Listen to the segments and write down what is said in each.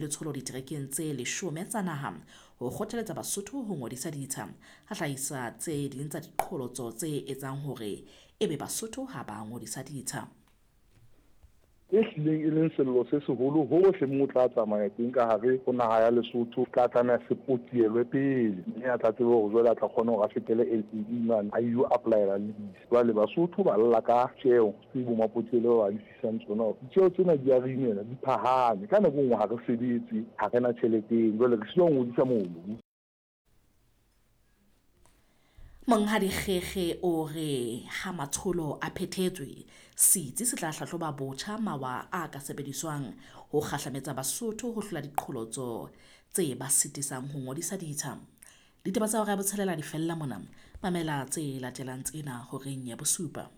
Letsholo diterekeng tse leshome tsa naha ho kgothaletsa Basotho ho ngodisa ditsha, a hlahisa tse ding tsa diqholotso tse etsang hore ebe Basotho ha ba ngodisa ditsha. E hlileng e leng sello se seholo hohle moo o tla tsamaya teng ka hare ho naha ya Lesotho, se tla tlameha se potielwe pele mme a tla tsebe hore jwale a tla kgona hore a fetele LAE mane a ilo applyela lease. Jwale Basotho ba lla ka tjeo tse bo mapotiele ba ba lefisang tsona hore ditjeo tsena di a re imela, di phahame. Ka nako e nngwe ha re sebetse, ha re na tjhelete eno, jwale re sitwa ho ngodisa mobu. Monghadi Kgekge o re ha matsholo a phethetswe, setsi se tla hlahloba botjha mawa a ka sebediswang ho kgahlametsa Basotho ho hlola diqholotso tse ba sitisang ho ngodisa ditsha. Ditaba tsa hora ya botshelela di fella mona. Mamela tse latelang tsena horeng ya bosupa.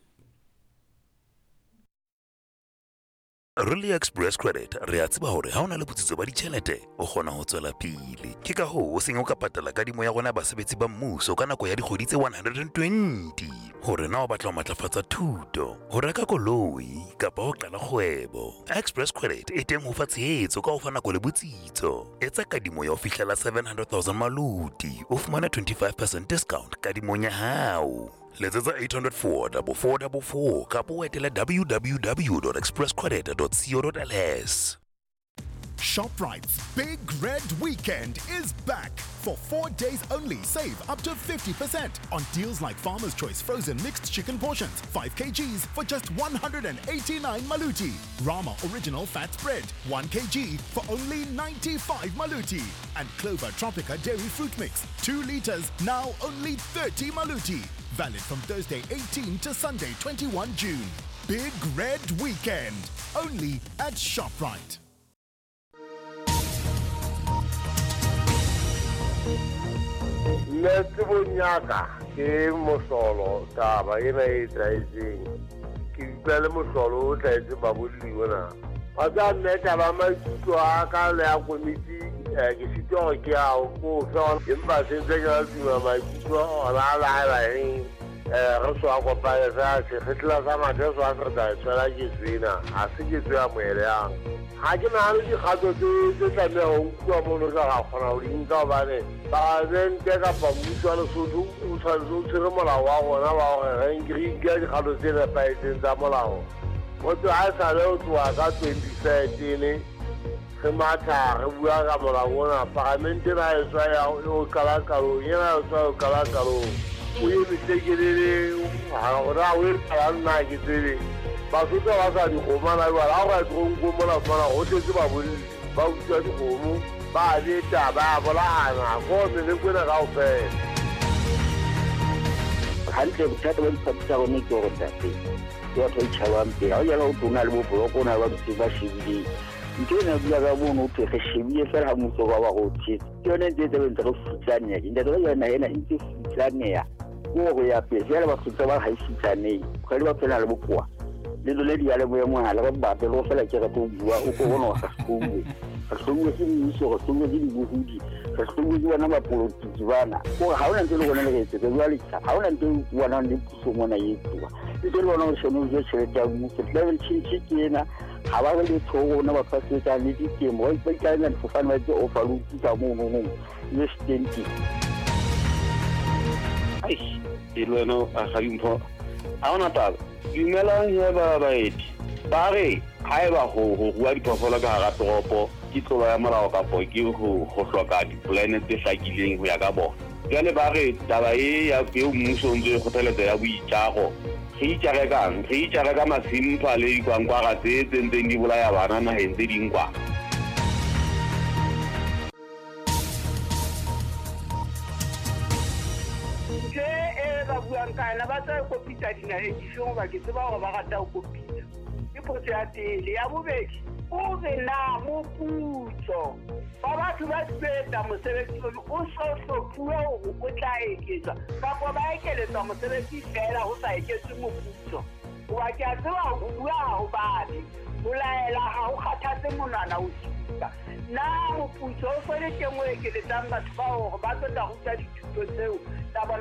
Re le Express Credit re a tseba hore ha o na le botsitso ba ditjhelete o kgona ho tswela pele. Ke ka hoo o seng o ka patala kadimo ya rona ya basebetsi ba mmuso ka nako ya dikgwedi tse 120. Hore na o batla ho matlafatsa thuto, ho reka koloi kapa ho qala kgwebo, Express Credit e teng ho fa tshehetso ka ho fa nako le botsitso. Etsa kadimo ya ho fihlela 700,000 maluti, o fumane 25% discount kadimong ya hao. Letsetsa 804 4444 kapa o etele www.expresscredit.co.ls. ShopRite's Big Red Weekend is back. For 4 days only, save up to 50% on deals like Farmer's Choice frozen mixed chicken portions, 5 kgs for just 189 maluti. Rama Original Fat Spread, 1 kg for only 95 maluti. And Clover Tropica Dairy Fruit Mix, 2 liters, now only 30 maluti. Valid from Thursday 18 to Sunday 21 June. Big Red Weekend, only at ShopRite. Nna tsebong ya ka ke mohlolo taba ena e etsahetseng. Ke utlwa le mohlolo o hlahetseng babolli ona. Wa tseba mme taba ya maikutlo a ka le ya komiti ke sitwa hore ke a ko fe empa se ntse ke la tuma maikutlo ona a laela eng re so a kopane fela sekgetla sa mathe so a se re tla e tshwela ketso ena ha se ketso ya moeleyang. Ha ke nahane dikgato tse tse tlameha ho nkuwa mono tla ra kgona ho di nka hobane palamente kapa mmuso wa Lesotho o tshwanetse o tshwere molao wa rona wa hore re nke dikgato tse nepahetseng tsa molao. Ho tloha ha esale ho tloha ka 2013 re matha re bua ka molao ona, palamente ena e tswa ya o qala qalong, ena e tswa o qala qalong. O eme tlekelele hore na o etsalang nna ha ke tsebe. Basotho ha ba sa dikgomo hana jwale, ha o ka ya toronkong mona o fumana ho tletse babolli ba utswa dikgomo, ba beta, ba bolayana, ko meleko ena kaofela. Hantle bothata ba diphathi tsa rona ke hore ntate ke batho ba itjhabang pele. Ha o jala ho thwe o na le bo block, o na le ba dutseng ba shebileng. Ntho ena bua ka mono ho thwe re shebile fela ha mmuso wa ba re o tshetse. Ke yone ntse e tse ntse re futsaneha. Ntate ka jwale naha ena e ntse futsaneha. Ke hore ya pele fela batho ntse ba re ha e futsanehe. Kgwedi ba phela le bokowa. Le lona diyalemoya mohala re batle le go fela ke rate ho bua o ko bona hore re hlouwe. Re hlouwe ke mmuso, re hlouwe ke dibohodi, re hlouwe ke bona bapolotiki bana. Kore ha hona ntho e le rona le re etsetsa jwale ha hona ntho e bonang le puso mona e etsuwa. Ntse le bona hore sheno jo tjhelete ya mmuso. Climate change ke ena ha ba re letho ho rona batho ba sebetsang le ditemo ba ikaela difofane ba etse overload ka mono no le stenti. Eish, e le wena a ga dimpho ha ona taba. Dumelang he ba baeti. Ba re haeba ho ho rua diphoofolo ka hara toropo ke tlolo ya molao kapo ke ho ho hloka dipolane tse hlakileng ho ya ka bona. Jwale ba re taba e ya eo mmuso o ntso e kgothaletsa ya boitjaro, re itjare kang? Re itjare ka masimpha le dikwankwara tse tse ntseng di bolaya bana naheng tse ding kwa. Ntho e ba buang ka yona ba tla e kopitsa dinaheng difeng hoba ke tseba hore ba rata ho kopitsa. Ke potso ya pele. Ya bobedi, o re na moputso wa batho ba tlo etsa mosebetsi ono o so hlophuwe hore o tla eketswa kapa ba ekeletswa mosebetsi feela ho sa eketswe moputso? Hoba ke a tseba ho bua ha ho babe, ho laela ha ho kgathatse monwana o supa. Na moputso o so le teng o ekeletsang batho bao hore ba tlo tla ruta dithuto tseo tsa bona?